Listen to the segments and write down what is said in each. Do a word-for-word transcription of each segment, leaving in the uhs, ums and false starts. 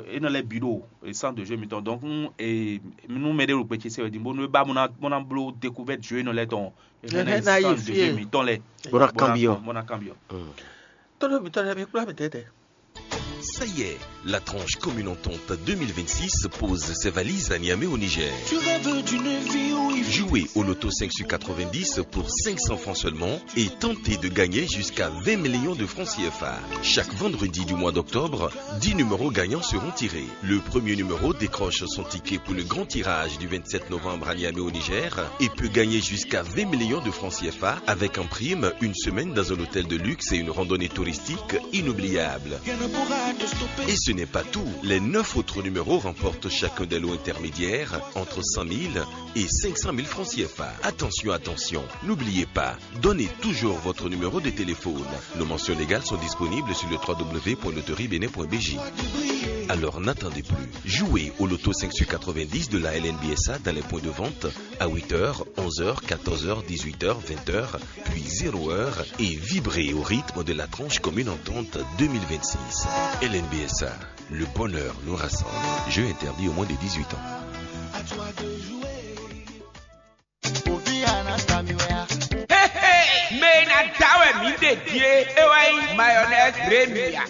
É nɔ lɛ́ bǐ ɖo centre de jeu mǐtɔn. Donc, nú mɛɖé ɖo gbe ce se wɛ din bónú é ba bó ná bló découverte jeu énɔ lɛ́ɛ tɔn, é hɛn ná yi centre de jeu mǐtɔn lɛ́ɛ. Bó ná kanbyɔ́. Bó ná kanbyɔ́. Tɔ́ ɖo mǐtɔn lɛ́ɛ mi kplá mǐ tɛ́tɛ́. Ça y est, la tranche commune entente deux mille vingt-six pose ses valises à Niamey au Niger. Jouez au loto cinq sur quatre-vingt-dix pour cinq cents francs seulement et tentez de gagner jusqu'à vingt millions de francs C F A. Chaque vendredi du mois d'octobre, dix numéros gagnants seront tirés. Le premier numéro décroche son ticket pour le grand tirage du vingt-sept novembre à Niamey au Niger et peut gagner jusqu'à vingt millions de francs C F A avec en prime une semaine dans un hôtel de luxe et une randonnée touristique inoubliable. Et ce n'est pas tout. Les neuf autres numéros remportent chacun des lots intermédiaires entre cent mille et cinq cent mille francs C F A. Attention, attention, n'oubliez pas, donnez toujours votre numéro de téléphone. Nos mentions légales sont disponibles sur le trois W point loterie bénin point B J. Alors n'attendez plus. Jouez au loto cinq sur quatre-vingt-dix de la L N B S A dans les points de vente à huit heures, onze heures, quatorze heures, dix-huit heures, vingt heures, puis zéro heure et vibrez au rythme de la tranche commune entente deux mille vingt-six. L N B S A, le bonheur nous rassemble. Jeu interdit au moins de dix-huit ans. Mɛ e ná da wɛ mǐ ɖe din é, é wɛ nyí mayonnaise Remia.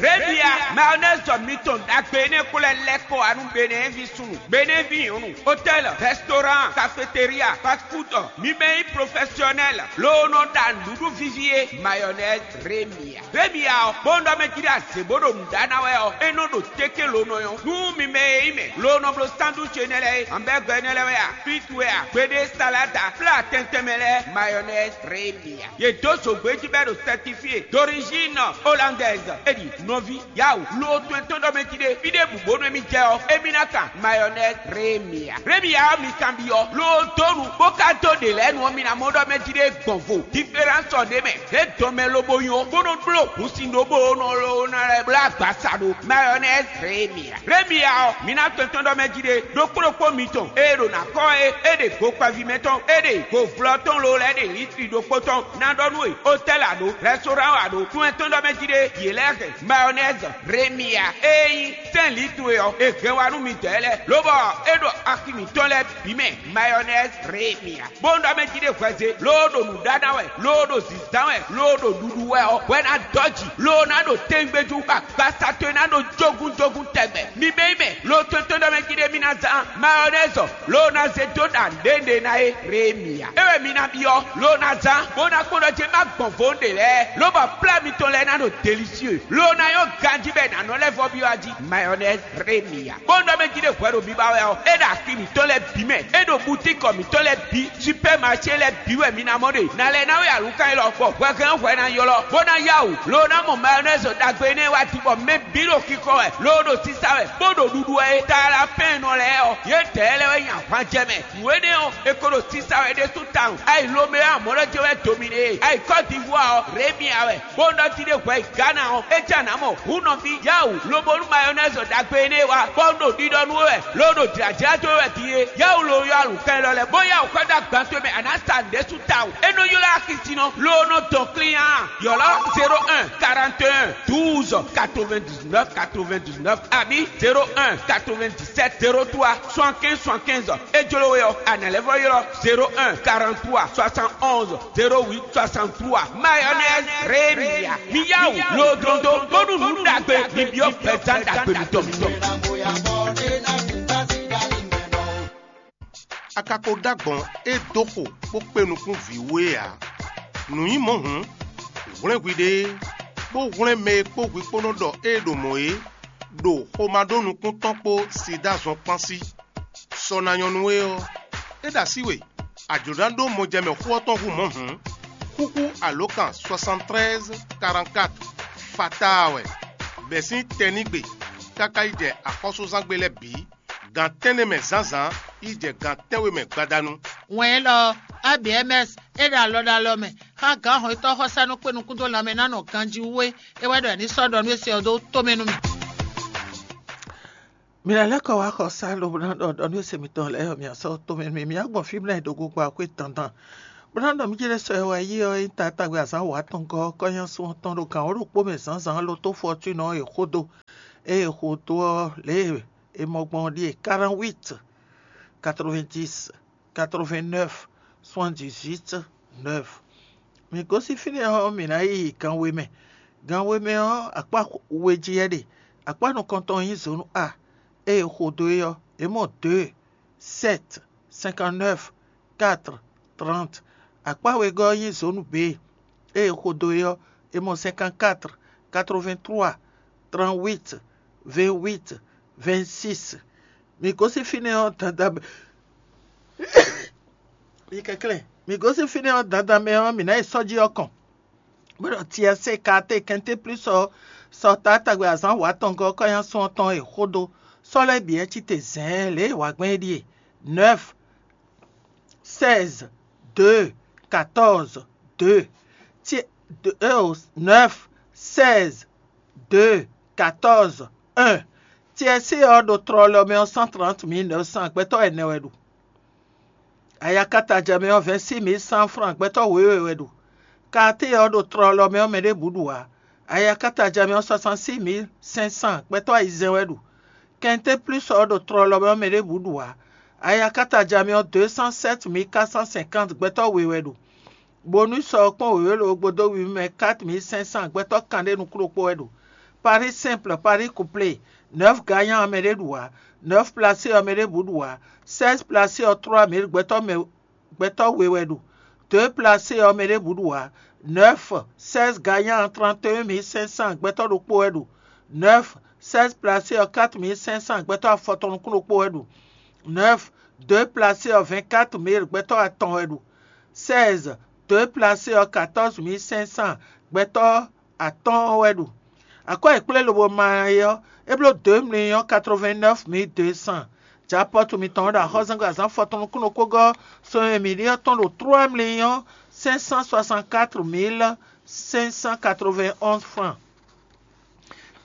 Remia, mayonnaise mitɔn ɖagbe énɛ́ ko lɛ́ lɛ́ kɔ wá nú Benɛ́ɛvi súnnu, Benɛ́vi nyɔ̌nu, hôtel, restaurant, cafétéria, fast food, mi mɛ nyí professionnel, loo nɔ ɖa nǔɖuɖu víví é, mayonnaise Remia. Ɖěbǔ ya ɔ́, bó nɔ ɖɔ mɛ jí ɖo azě bó ɖo nǔ ɖa ná wɛ ɔ́, é nɔ ɖo téké lo nɔ nyɔ́. Nú mi mɛ e nyí mɛ lo nɔ bló sandwich énɛ́ lɛ́ɛ é, hamburger énɛ́ lɛ́ɛ wɛ a, frites wɛ a, gbeɖé salade a, plat tɛntɛn mɛ lɛ́ɛ, mayonnaise Remia. Yě dó zǒgbé jí bɔ é ɖo certifié d'origine hollandaise. É ɖi nɔví yawu lo tɔn tɔn ɖɔ mɛ jí ɖé fí ɖěbǔ bónú émí jɛ ɔ́, émí ná kan mayonnaise Remia. Remia ɔ́ mi kanbyɔ́ lo dó nu bó ka dó ɖě lɛ́ɛ nu ɔ́, mi ná mɔ ɖɔ mɛ jí ɖé gbɔn vo. Différence ɔ́ ɖ'é mɛ. É dɔn mɛ lobo nyɔ bó nɔ bló hǔnsin ɖó bó nɔ ló ná lɛ́ bló agbasa ɖó mayonnaise Remia. Remia ɔ́, mi ná tɔn tɔn ɖɔ mɛ jí ɖé ɖokpó ɖokpó mitɔn e ɖo ná kɔ́ é, é ɖe go kpaví mɛ tɔn, é ɖe go vlɔ tɔn lo lɛ́ ɖe litri ɖokpó tɔn ná ɖɔ nú we, hôtel a ɖo, restaurant a ɖo, tún ɛ tɔn ɖɔ mɛ jí ɖé, yě lɛ́ hɛn mayonnaise Remia e nyí sɛ́n litri ɔ́, è hɛn wá nú midɛɛ lɛ́ɛ, lobɔ é ɖo axi mǐtɔn lɛ́ɛ bǐ mɛ mayonnaise Remia. Bó nɔ ɖɔ mɛ jí ɖé hwɛze, loo ɖo nǔ ɖa ná wɛ, loo ɖo zǐnzán wɛ, loo ɖo ɖuɖu wɛ ɔ́, hwɛ ná dɔ́ jǐ, loo ná ɖo tɛngbéjú, bɔ agbasa towe ná ɖo jógúnjógún tɛgbɛ. Mi bɛ́ mɛ, loo tɔn tɔn ɖɔ mɛ jí ɖé mi ná zán mayonnaise, loo ná zé dó ɖa nǔɖé ná é Remia. É wɛ mi ná byɔ́, loo ná zán, bó ná kpɔ́n ɖɔ jé má gbɔn vo ɖě lɛ́ɛ, lobɔ plá mitɔn lɛ́ɛ ná ɖo délicieux, loo ná nyɔ́ ganjí bɔ è nǎ nɔ lɛ́ vɔ byɔ́ a jí mayonnaise Remia. Bó nɔ mɛ jí ɖé hwɛ ɖo biba wɛ ɔ́, é ɖo axi mǐtɔn lɛ́ɛ bǐ mɛ, é ɖo butíkɔ mǐtɔn lɛ́ɛ bǐ, supɛ́maṣé lɛ́ɛ bǐ wɛ mi ná mɔ ɖe. Nǎ lɛ́ ná wɛ alǔkan élɔ́, bɔ hwɛhɛn hwɛ ná ylɔ́, bó ná yá wǔ, loo ná mɔ mayonnaise ɖagbe énɛ́ wá din, bɔ mɛ bǐ ɖo xixɔ wɛ, loo ɖo sisa wɛ, bó ɖo ɖuɖu wɛ é. Talapɛ́nnɔ lɛ́ɛ ɔ́, yědɛɛ lɛ́ɛ wɛ nyi ahwan jɛ mɛ. Nǔ énɛ́ ɔ́, è ko ɖo sisa wɛ ɖésú tawun. Ayi Lomé ɔ́, amɔ̌ lɔ jɛ wɛ Dominé, ayi Kɔ́divuá ɔ́, Remia wɛ. Bó nɔ jí ɖé hwɛ yi Gana ɔ́, é jɛ nǎ mɔ hǔnnɔví yáwǔ, lobo nú mayonnaise ɖagbe énɛ́ wá, bɔ un ɖo ɖiɖɔ nú we wɛ, lo ɖo jlǎjlá dó we wɛ din é. Yáwǔ lo ylɔ́ alǔkan élɔ́ lɛ́ɛ, bó yáwǔ xɔ dó agban towe mɛ, a nǎ sa nǔɖé sú tawun. É nɔ ylɔ́ axi sin nɔ, lo nɔ dɔn klín a. Ylɔ́ zéro un quarante et un douze quatre-vingt-dix-neuf quatre-vingt-dix-neuf abǐ zéro un quatre-vingt-dix-sept zéro trois soixante-quinze soixante-quinze. É jló we ɔ́, a nǎ lɛ́ vɔ ylɔ́ zéro un quarante-trois soixante-onze zéro huit soixante-trois. Mayonnaise Remia. Mi yá wǔ lo dlɔ́n dó bónú nǔ ɖagbe mi byɔ́ gbɛzán ɖagbe mitɔn. A ka ko ɖó agbɔ̌n e dó xo bó kpé nukún vǐ wú é ǎ. Nǔ nyí mɔ̌ hǔn, hwlɛ́n hwiɖée, bó hwlɛ́n mɛ e kpó hwi kpó nɔ ɖɔ ée ɖo mɔ̌ é, ɖo xomɛɖónukún tɔn kpó sida zɔn kpán sí. Sɔ ná nyɔ́ nú we ɔ́, é ɖo así we, a jlǒ ná ɖó mɔjɛmɛ xó ɔ́ tɔn hú mɔ̌ hǔn, xúxú alǒkan soixante-treize quarante-quatre fataa wɛ, bɛ̌ sín tɛnígbe káká yi jɛ axɔ́súzángbe lɛ́ɛ bǐ, gan tɛ́nnɛ mɛ zǎnzǎn yi jɛ gan tɛ́nwe mɛ gbadanu. Wɛn élɔ́ ɔ́, A B M S é ɖo alɔ ɖo alɔ mɛ xá gǎn hɔn e tɔ́ xɔsá nɔ kpé nukún dó lanmɛ ná nɔ ganjí wú é. É wɛ ɖɔ è ní sɔ́ ɖɔ nú é se ɔ́ dó tomɛ nú mì. Mi ná lɛ́ kɔ wá xɔ sá lobo ná ɖɔ ɖɔ nú ese mitɔn lɛ́ɛ ɔ́, mi ná sɔ́ tomɛ nú mì. Mi ná gbɔn fí mlɛ́ ɖo gogo akwé dandan, Bó ná ɖɔ mì céɖé sɔ e wɛ yí ɔ́, é nyí taatagbe azǎn wǒ atɔngɔ́ ɔ́ kɔ́ nyá sun ɔ́ tɔn ɖo gǎn wǒ ɖokpó mɛ zǎnzǎn lotó Fɔtúnɔ e xó dó. Ée è xo dó ɔ́, lě e è mɔ gbɔn ɔ́ ɖíe: quarante-huit, quatre-vingt-dix, quatre-vingt-neuf, soixante-dix-huit, neuf. Mǐ gosín fínɛ́ ɔ́, mǐ ná yi gan we mɛ. Gan we mɛ ɔ́, akpá we jí wɛ ɖe. Akpá nukɔntɔn nyí zǒnu A. Ée è xo dó é ɔ́, è mɔ deux, sept, cinquante-neuf, quatre, trente. Akpá wegɔ́ ɔ́ nyí zǒnu B. Ée è xo dó é ɔ́, è mɔ cinquante-quatre, quatre-vingt-trois, trente-huit, vingt-huit, vingt-six. Mǐ gosín fínɛ́ ɔ́ dandan mɛ. Yi kɛnklɛ́n. Mǐ gosín fínɛ́ ɔ́ dandan mɛ ɔ́, mǐ ná yi sɔ́ jí ɔ́ kɔn. Bó ɖɔ Tiɛsée Kaatée Kɛnté Plúsu ɔ́, sɔ taatagbe azǎn wǒ atɔngɔ́ ɔ́ kɔ́ nyá sun ɔ́ tɔn e xó dó. Sɔ́ lɛ́ɛ bǐ wɛ cí te zɛ̌ɛn lě e è wa gbɛn é ɖíe: neuf, seize, deux, quatorze, deux. Tiɛ, deux, neuf, seize, deux, quatorze, un. Tiɛsée ɔ́ ɖo tlɔlɔ mɛ ɔ́, cent trente mille neuf cent gbɛtɔ́ ɛnɛ wɛ ɖo. Ayakataja mɛ ɔ́, vingt-six mille cent francs gbɛtɔ́ wěwe wɛ ɖo. Kaatée ɔ́ ɖo tlɔlɔ mɛ ɔ́, mɛ ɖěbǔ ɖu ǎ. Ayakataja mɛ ɔ́, soixante-six mille cinq cents gbɛtɔ́ ayizɛ́n wɛ ɖo. Kɛnté Plúsu ɔ́ ɖo tlɔlɔ mɛ ɔ́, mɛ ɖěbǔ ɖu ǎ. Ayakataja mɛ ɔ́, deux cent sept mille quatre cent cinquante gbɛtɔ́ we wɛ ɖo. Bonus ɔ́ kpɔ́n wěwé lobo dó wiwi mɛ quatre mille cinq cents gbɛtɔ́ kanɖé nukún ɖokpó wɛ ɖo. Pari simple, pari couplé, neuf gagnant ɔ́, mɛ ɖé ɖu ǎ. Neuf placé ɔ́, mɛ ɖěbǔ ɖu ǎ. Seize placé ɔ́, trois mille gbɛtɔ́ mɛ gbɛtɔ́ we wɛ ɖu. Deux placé ɔ́, mɛ ɖěbǔ ɖu ǎ. Neuf, seize gagnant, trente et un mille cinq cents gbɛtɔ́ ɖokpó wɛ ɖu. Neuf, seize placé ɔ́, quatre mille cinq cents gbɛtɔ́ afɔtɔn nukún ɖokpó wɛ ɖu. Neuf, deux placé ɔ́, vingt-quatre mille gbɛtɔ́ atɔn wɛ ɖu. Seize, deux placé ɔ́, quatorze mille cinq cents gbɛtɔ́ atɔ́ɔ́n wɛ ɖu. Akwɛ́ e kplé lobo ma ɛ ɔ́, é bló deux millions quatre-vingt-neuf mille deux cents. Japɔ́tu mitɔn ɔ́ ɖo axɔ́zɛ́ngbe azǎn fɔtɔn nukúnnú kpógɔ́ sɔn e mǐ ɖe ɔ́ tɔn ɖo trois millions cinq cent soixante-quatre mille cinq cent quatre-vingt-onze francs.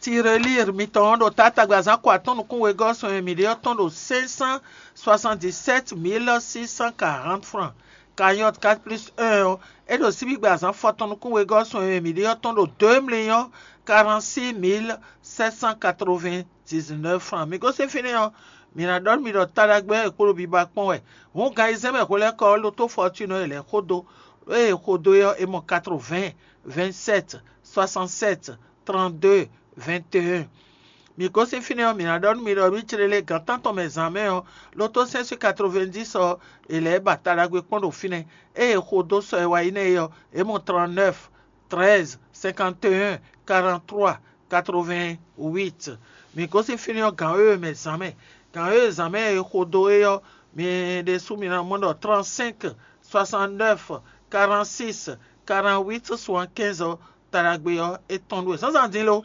Tirelire mitɔn ɔ́ ɖo taatagbe azǎn ko atɔ́ɔ́n nukún wegɔ́ sɔn e mǐ ɖe ɔ́ tɔn ɖo cinq cent soixante-dix-sept mille six cent quarante francs. Cagnotte quatre plus un ɔ́, é ɖo síbígbe azǎn fɔtɔn nukún wegɔ́ sɔn e mǐ ɖe ɔ́ tɔn ɖo deux millions quarante-six mille sept cent quatre-vingt-dix-neuf francs. Mǐ gosín fínɛ́ ɔ́, mǐ ná ɖɔ nú mi ɖɔ taɖagbe ɔ́ è kpo ɖo biba kpɔ́n wɛ. Hǔn gan ayizɛ́n mɛ hwelɛ́kɔ ɔ́, Lotó Fɔtúnɔ e lɛ̌ xó dó, e è xo dó é ɔ́, è mɔ quatre-vingts, vingt-sept, soixante-sept, trente-deux, vingt et un. Mǐ gosín fínɛ́ ɔ́, mǐ ná ɖɔ nú mi ɖɔ mǐ jlé lě gan tántɔn mɛ zǎn mɛ ɔ́, Lotó cinq cent quatre-vingt-dix ɔ́, è lɛ̌ ba taɖagbe kpɔ́n ɖo fínɛ́. Ée è xo dó sɔ e wá yi nɛ́ é ɔ́, è mɔ trente-neuf, treize, cinquante et un, quarante-trois, quatre-vingt-huit. Mǐ gosín fínɛ́ ɔ́, gǎn wěwe mɛ zǎn mɛ. Gǎn wěwe zǎn mɛ e è xo dó é ɔ́, mi ɖésú mi ná mɔ ɖɔ trente-cinq, soixante-neuf, quarante-six, quarante-huit, soixante-quinze ɔ́, taɖagbe ɔ́, é tɔn ɖu wɛ. Zǎnzǎn din lo.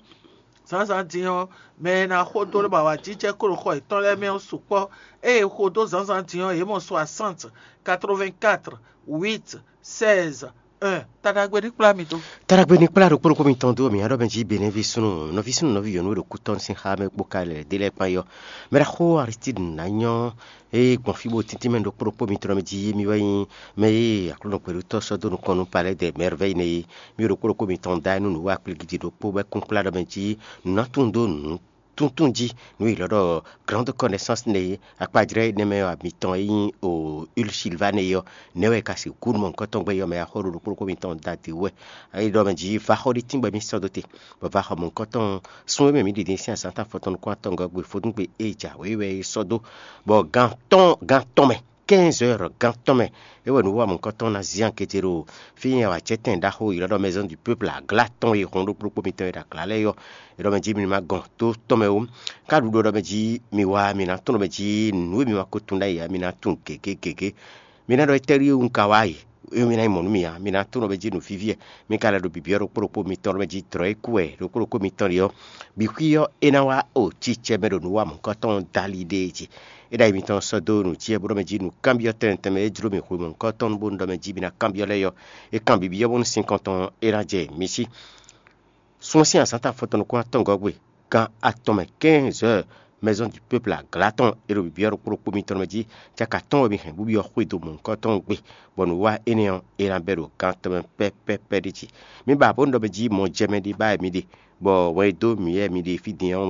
Zǎnzǎn din ɔ́, mɛ e ná xo dó ɖo awǎjijɛ kó ɖo xɔ yětɔn lɛ́ɛ mɛ ɔ́ sukpɔ́. Ée è xo dó zǎnzǎn din ɔ́, yě mɔ soixante, quatre-vingt-quatre, huit, seize, un. Taɖagbe ní kplá mi dó. Taɖagbe ní kplá ɖokpó ɖokpó mitɔn dó, mǐ ná ɖɔ mɛ jí Benɛ́ví súnnu, nɔví súnnu, nɔví nyɔ̌nu e ɖo kútɔ́ sín xá mɛ kpó ka lɛ́ ɖé lɛ́ɛ kpán é ɔ́. Mɛ ɖaxó Aristide ná nyɔ́, ée gbɔn fí bó tíntín mɛ ɖokpó ɖokpó mitɔn mɛ jí, mi wɛ nyí mɛ e Aklúnɔ gbɛɖutɔ́ sɔ́ dó nukɔn nú Palais des Merveilles nɛ́ é. Mi ɖokpó ɖokpó mitɔn da nú nǔ wa kplígídi ɖokpó bɔ é kún kplá ɖɔ mɛ jí nǔ ná tunwun dó nǔ tuntun jí, nǔ e è ylɔ́ ɖɔ Grande Connaissance nɛ́ é. Akpajlɛ́ énɛ́ mɛ ɔ́, mitɔn e nyí o Huile Sylvain é ɔ́, nɛ̌ wɛ è ka sixú nú mɔ̌hunkɔtɔn gbɛ́ é ɔ́ mɛ axɔ́ ɖo ɖokpó ɖokpó mitɔn da dě wú wɛ. É ɖɔ mɛ jí vaxɔ ɖé tíngbɛ mì sɔ́ dó te, bɔ vaxɔ mɔ̌hunkɔtɔn sún e mɛ mǐ ɖi din sín azǎn táfɔtɔn nukún-atɔngɔ́ gbe vodúngbe e jǎwe wɛ é sɔ́ dó, bɔ gan tɔn gan tɔn mɛ, quinze heures gan tɔn mɛ, é wɛ nǔ wa mɔ̌hunkɔtɔn ná zí ankété ɖo fí e è wǎ jɛ tɛn ɖaxó e è ylɔ́ ɖɔ Maison du Peuple aglá tɔn e hɔn ɖokpó ɖokpó mitɔn e ɖo aglá lɛ́ɛ é ɔ́, è ɖɔ mɛ jí mi ma gɔn tó tɔn mɛ ó. Ká ɖu ɖɔ ɖɔ mɛ jí mi wá, mi ná tunwun ɖɔ mɛ jí nǔ e mi ma ko tunwun ɖ'ayǐ ǎ, mi ná tunwun gěgé gěgé. Mi ná ɖɔ étɛ́ ɖíe un ka wá yi? É mi ná nyí mɔ̌ nú mì ǎ. Mi ná tunwun ɖɔ mɛ jí nǔ víví wɛ. Mi ka lɛ́ ɖo bǐbí ɔ́ ɖokpó ɖokpó mitɔn ɖɔ mɛ jí dlɔ̌ e kú wɛ ɖokpó ɖokpó mitɔn ɖe ɔ́, bǐ xwí ɔ́ é ná wá o cicɛ mɛ ɖo nǔ wa mɔ̌hunkɔtɔn dali ɖe jí. É ɖo ayi mitɔn sɔ́ dó nǔ jí wɛ bó ɖɔ mɛ jí nǔ kanbyɔ́ tɛnmɛ tɛnmɛ e jló mì hwemɔ̌hunkɔtɔn bó ɖɔ mɛ jí mi ná kanbyɔ́ lɛ́ɛ ɔ́, é kanbyɔ́ bó nú sinkɔn tɔn é ná jɛ mi sí. Sun ɔ́ sín azǎn ta fɔtɔn nukún atɔngɔ́ gbe, gan atɔn mɛ quinze heures, Maison du Peuple aglá tɔn e ɖo bǐbí ɔ́ ɖokpó ɖokpó mitɔn mɛ jí, caka tɔn wɛ mi hɛn bó byɔ́ xwédo mɔ̌hunkɔtɔn ɔ́ gbe, bɔ nǔwiwa énɛ́ ɔ́, é ná bɛ́ ɖo gan tɔn mɛ pɛ́pɛ́pɛ́ ɖ'é jí. Mi ba bó ɖɔ mɛ jí mɔ jɛ mɛ ɖé ba wɛ mi ɖe, bɔ wɛn e dó mǐ wɛ mi ɖe fí din ɔ́